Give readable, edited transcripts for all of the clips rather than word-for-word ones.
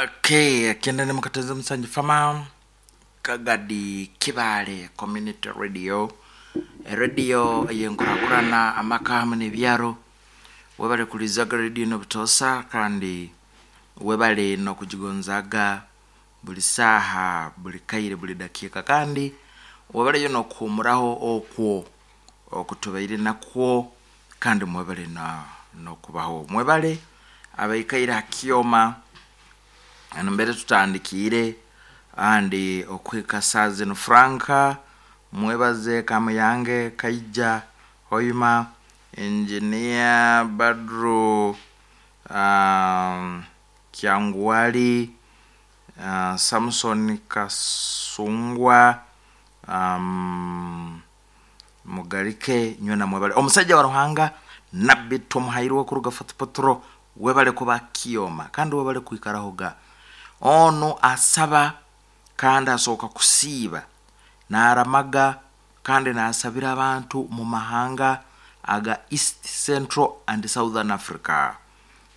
Okay, kenda ni mukateze musanji fama Kagadi Kibaale Community Radio, eradio ey'enkurakurana amaka hamwe n'ebyaro. Webale kulizaga radio eno butoosa kandi webale n'okugigonzaaga buli saaha, buli kaire, buli dakiika kandi webaleyo n'okuhuumuraho okwo okutubaire nakwo kandi mwebale n'okubaho. Mwebale abaikaire aha kyoma nambere tutandikiire kandi okuhika saaha zinu. Frank Mwebaze, Kamuyange, Kaija, Hoima, Engineer Badru, Kyanguwali, Samson Kasungwa, Mugarike nywena mwebale. Omusaija wa Ruhanga Nabbi Tumuhairwe kuruga Fort Portal webale kuba kyoma kandi webale kwikarahoga. Onu asaba kandi asooka kusiiba naramaga kandi nasabira abantu mu mahanga aga East, Central and Southern Africa.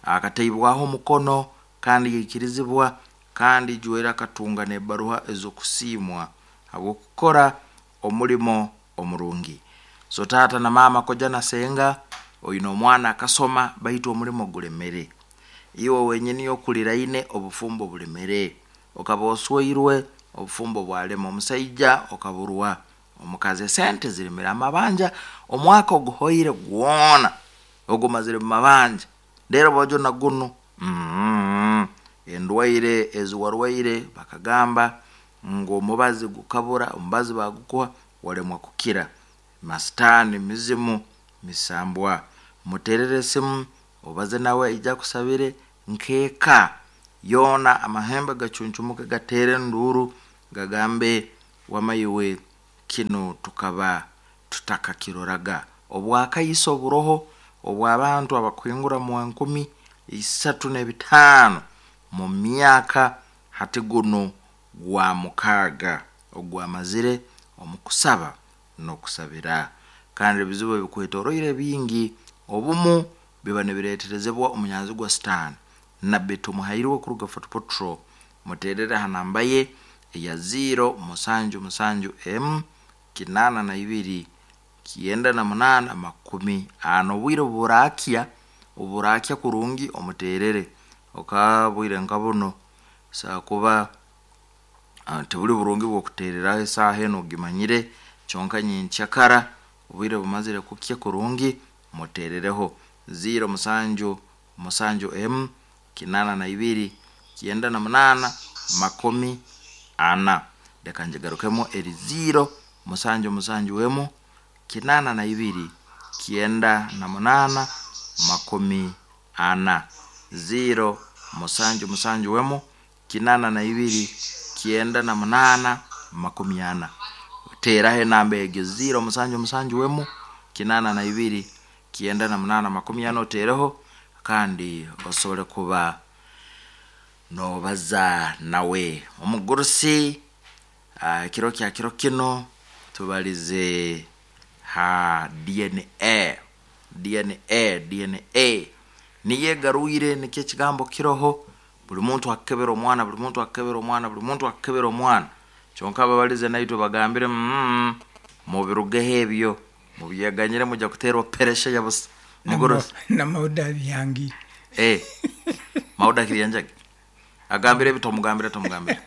Akataibwaho omukono kandi yaikirizibwa kandi ijwire akatunga n'ebaruha ez'okusiimwa habw'okukora omurimo omurungi. So taata na maama koja na senga oine omwana akasoma baitu omurimo gulemere. Iwe wenyini okuriraine obufumbo bulemere. Okaba osweirwe obufumbo bwalema omusaija okaburwa omukazi esente ziremere amabanja omwaka oguhoire gwona ogumazire mu mabanja reero bojo na gunu mm endwaire ezi warwaire bakagamba ngu omubazi gukabura omubazi bagukuha waremwa kukira masitaani mizimu misambwa muterere esimu obaze nawe aije akusabire nk'eka yoona amahembe gacuncumuke gateere enduuru gagambe wama iwe kinu tukaba tutakakiroraga. Obwakaiso buroho obw'abantu abakuhingura mu enkumi isatu n'ebitaano mu myaka hati gunu gwa mukaaga ogwamazire omu kusaba n'okusabira. Kandi ebizibu ebikwetoroire bingi obumu biba nibireeterezebwa omunyanzigwa Sitaani. Nabbi Tumuhairwe kuruga Fort Portal muteerere ha namba ye eya ziiro musanju musanju emu 82 98 40. Obwire obu buraakya, obu buraakya kurungi omuteerere okabwire nka buno busobola kuba tibuli burungi bw'okuteereraho esaaha enu ogimanyire kyonka nyenkyakara obwire bumazire kukya kurungi muteerereho ziiro musanju musanju emu 82 98 40. Leka ngigarukemu eri ziiro musanju musanju emu 82 98 40. Ziiro musanju musanju emu 82 98 40. Teeraho enamba egyo ziiro musanju musanju emu 82 98 40 oteereho kandi osobole kuba noobaza nawe. Omugurusi ekiro kya kiro kinu tubalize ha DNA, DNA, DNA niyo egarwire nikyo ekigambo kiroho buli muntu akukebera omwana, buli muntu akukebera omwana, buli muntu akukebera omwana kyonka ababalize naitwe bagambire mm mubirugeho ebyo mubyeganyire mujja kuteerwa peresha ya busa. Mugurusi. Na Mauda abyangire. Eh, Mauda Kiryanjagi agambire ebi tomugambira tomugambira.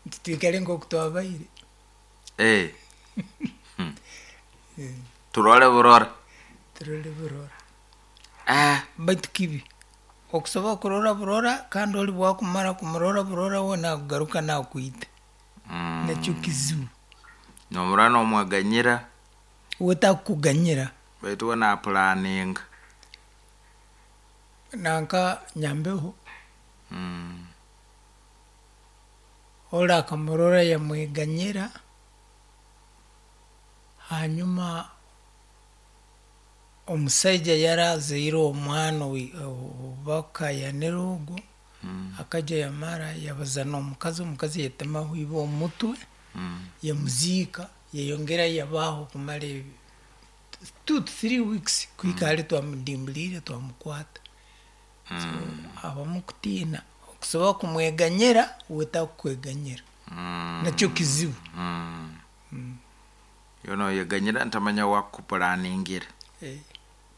Nti twikare nk'oku twabaire. Eh. Turore burora. Turore burora. Ah. Baitu kibi okusobola kurora burora kandi ori bwakumara kumurora burora we nakugaruka nakwita. Nakyo kizibu. Nomurora nomweganyira. We takukuganyira. Baitu we napulaninga. Nanka nyambeho. Ori akamurora yamweganyira, hanyuma omusaija yarazaire omwana ou bakayanire ogwo, akaija yamara yabaza n'omukazi, omukazi yatemaho iba omutwe, yamuziika, yayongera yabaho kumara 2 to 3 weeks kuhika hali twamudimburiire twamukwata. So habamu kutiina. Okusobola kumweganyira, uwe takukweganyira. Nakyo kizibu. Iwe noyeganyira ntamanya owakukupuraningira. Eh,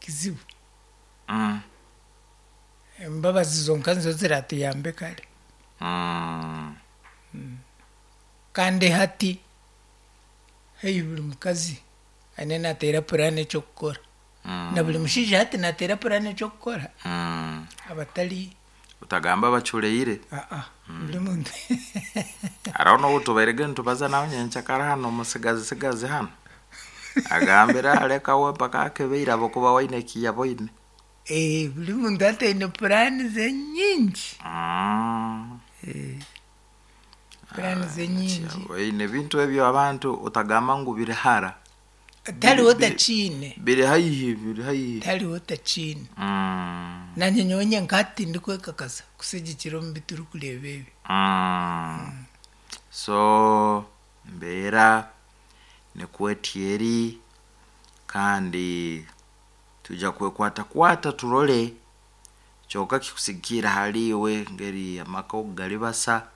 kizibu. Embabazi zonka nizo ziratuyambe kare. Kandi hati haihi buri mukazi aine nateera puraani eky'okukora. Na buri mushaija hati nateera puraani eky'okukora. Abatari. Otagamba abacureire. Aa, buri muntu. Hariho n'obu tubairege nitubaza nawe nyenkyakara hanu omusigazi sigazi hanu. Agambire areka we mpaka akebeire ahabw'okuba we aine eki yaboine. Eh, buri muntu hati aine puraani ze nyingi. Puraani ze nyingi. Oine ebintu ebyo abantu otagamba ngu biri hara. Tihariho otakiine. Biri haihi, biri haihi. Tihariho otakiine. Nanye nyowe nyenka hati tindikwekakasa kusigikira omu bi turikureeba ebi. So embeera nikwo eti eri kandi twija kwekwatakwata turore kyonka kikusigikiire ahariiwe engeri amaka oku garibasa.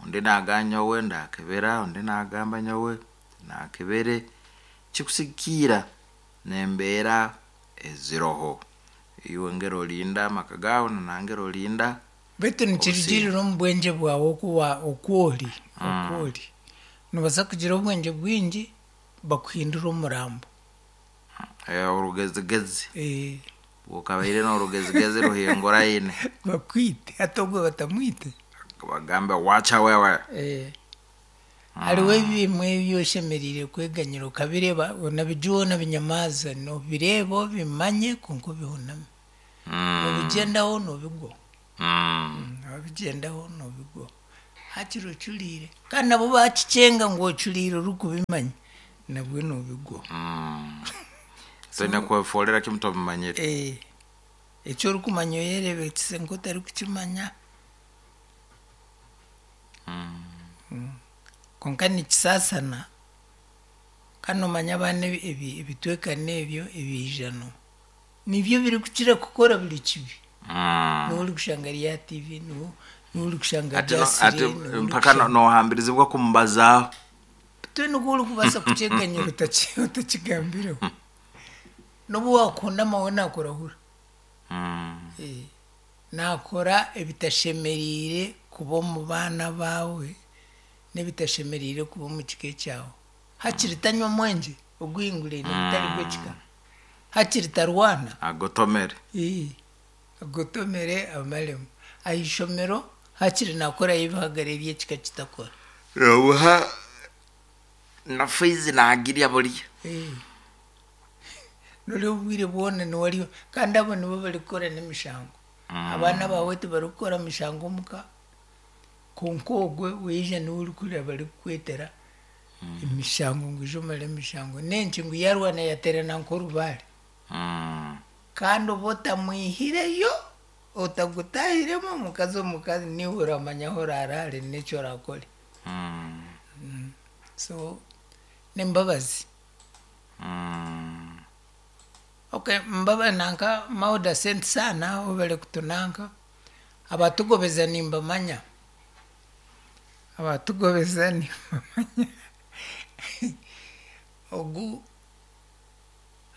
Ondi nagamba nyowe ndakebera, ondi nagamba nyowe nakebere, kikusigikiira n'embeera eziroho. Iwe engeri orinda amaka gaawe na nangeri orinda Beitu nikirugirira omu bwengye bwawe oku wa oku ori oku ori. Noobaasa kugira obwengye bwingi bakuhindure omurambo. Orugezigezi. Okabaire n'orugezigezi ruhinguraine. Bakwite hati ogwo batamwite. Bagambe wacha wewe. Hariho ebimwe ebi oshemereire kweganyira okabireeba onabijuha onabinyamaaza nobireeba obimanye kwonka obihuname. Nobigyendaho nobigwaho. Wabigyendaho nobigwaho. Hakiri ocuriire kandi nabo bakikyenga ngu ocuriire orikubimanya nabwe nobigwaho. Toine kwefoorera kimwe tobimanyire. Eki orikumanya oyereebekyise nk'otarikukimanya. Kwonka nikisaasana kandi noomanya abaana ebitwekano ebyo ebiijano nibyo birikukira kukora buri kibi. Niwe orikushanga ari aha TV, niwe orikushanga ari aha Hati mpaka noohambirizibwa kumubazaaho. Twena oku orikubaasa kukyeganyira otakigambireho. N'obu waakuhunama we naakurahura. Naakora ebitashemereire kuba omu baana baawe n'ebitashemereire kuba omu kika ekyawe. Hakiri tanywa mwengye oguhinguraine gutari gw'ekika. Hakiri tarwana. Agotomere. Agotomere amaremu. Aha ishomero hakiri naakorayo ebihagaro ebi ekika kitakora. Obuha na fiizi naagirya buriya. Nori obwire bwona niwe ariyo kandi abo nibo barikukora n'emishango. Abaana baawe tibarikukora mishango omuka kwonka ogwe waija niwe orikuhurira barikukwetera emishango ngu ija omare emishango. N'enki ngu yaarwana yaateerana nk'orubaare. Kandi oba otamwihireyo, otagutaahiremu omukazi omuka niiwe oramanya ahu oraaraare n'eki oraakore. So n'embabazi. Okay mbaba nanka Mauda sente sana webale kutunanka abatugobeza nimbamanya abatugobeza nimbamanya ogu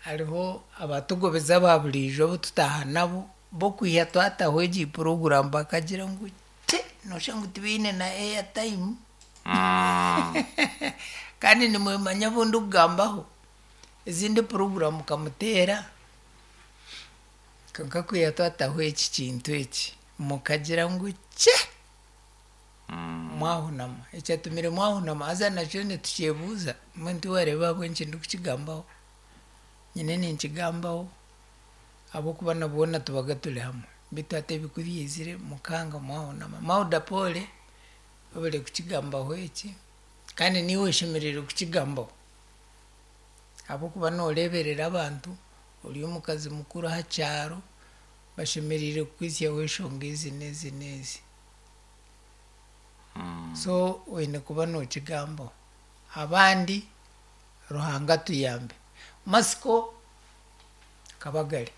hariho abatugobeza aba buriijo abu tutaaha nabo b'okwiha twataho egi puroguramu bakagira ngu te noshusha ngu tibaine na airtime kandi nimwemanya abu ndikugambaho. Ezindi puroguramu mukamuteera kwonka kwiha twataho eki kintu eki mukagira ngu kye! Mwahunama. Ekyatumire mwahunama haza nakyo nitukyebuuza mbwenu tiwareeba ahabw'enki ndikukigambaho? Nyine ninkigambaho ahabw'okuba na boona tubaga turi hamwe beitu hati ebi ku byaizire mukanga mwahunama. Mauda pole webare kukigambaho eki kandi naiwe oshemereire kukigambaho. Ahabw'okuba nooreeberera abantu, ori omukazi mukuru aha kyaro, bashemereire kukwitsyaho enshonga ezi n'ezi n'ezi. So oine kuba nookigambaho. Abandi Ruhanga atuyambe. Matsiko Kabagari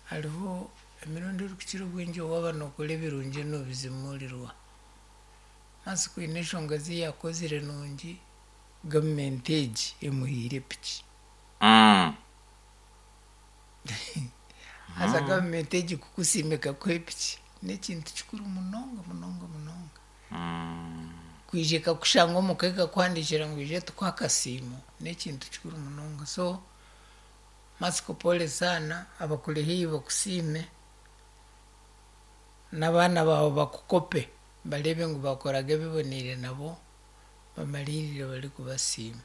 hariho. Emirundi erikukira obwingi waaba nookora ebirungi noobizimuurirwa. Matsiko haine enshonga ezi yaakozire nungi, gavumenti egi emuhaire piki. Haza gavumenti egi kukusiima ekakuha epiki n'ekintu kikuru munonga munonga munonga. Kwija ekakushanga omuka ekakuhandiikira ngu ija tukuhe akasiimo n'ekintu kikuru munonga. So Matsiko pole sana abakuri haihi bakusiime n'abaana baawe bakukope bareebe ngu baakoraga ebiboneire nabo bamariirire barikubasiima.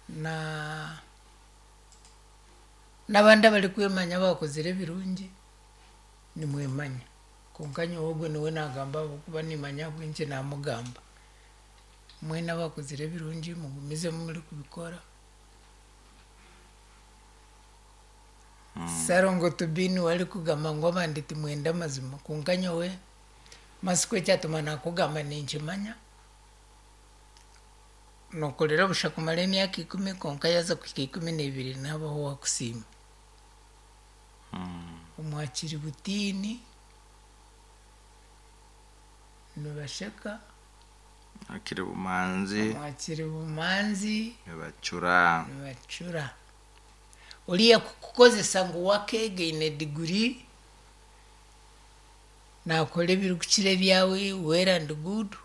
Na n'abandi abarikwemanya abaakozire ebirungi nimwemanya kwonka nyowe ogwo niwe naagamba ahabw'okuba niimanya ahabw'enki naamugamba. Mwena abaakozire ebirungi mugumizemu murikubikora. Sarongo Tubi niwe arikugamba ngu abandi timwenda amazima kwonka nyowe Matsiko ekyatuma nakugamba ninkimanya. Nokorera busha kumara emyaka ikumi kwonka yaaza kuhika 12 nihabaho owaakusiima. Omwakiri butiini nibasheka. Akiri bumanzi. Omwakiri bumanzi. Nibacura. Nibacura. Oriya kukukozesa ngu wakeega aine diguri naakora ebirikukira ebyawe well and good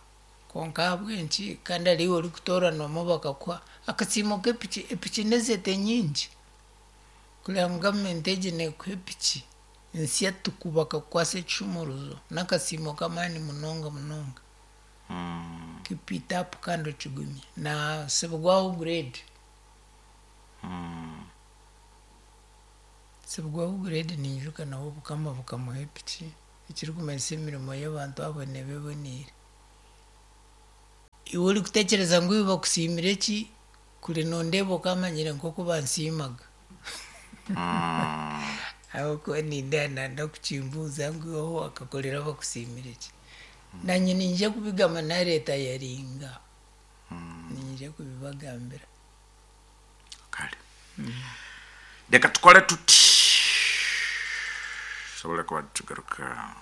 kwonka ahabw'enki kandi ari iwe orikutooranwamu bakakuha akasiimo k'epiki, epiki n'ezete nyingi kureba ngu gavumenti egi neekuha epiki nsya tuku bakakukwasa ekishumuruzo n'akasiimo k'amaani munonga munonga. Keep it up kandi okigumye. Naasibwaho grade. Sibwaho grade ninjuka nawe obukama bukamuha epiki ekirikumanyisa emirimo y'abantu abo neeba eboneire. Iwe orikutekyereza ngu iwe bakusiimire ki, kuri nondeeba okamanyire nk'oku bansiimaga. Ahabw'okuba nindeeba nanda kukimbuuza ngu iwe ahu wakakorera bakusiimire ki. Nanye niinyija kubigamba nareeta yaringa, niinyija kubibagambira. Kare reka tukore tuti tusobole kuba nitugaruka.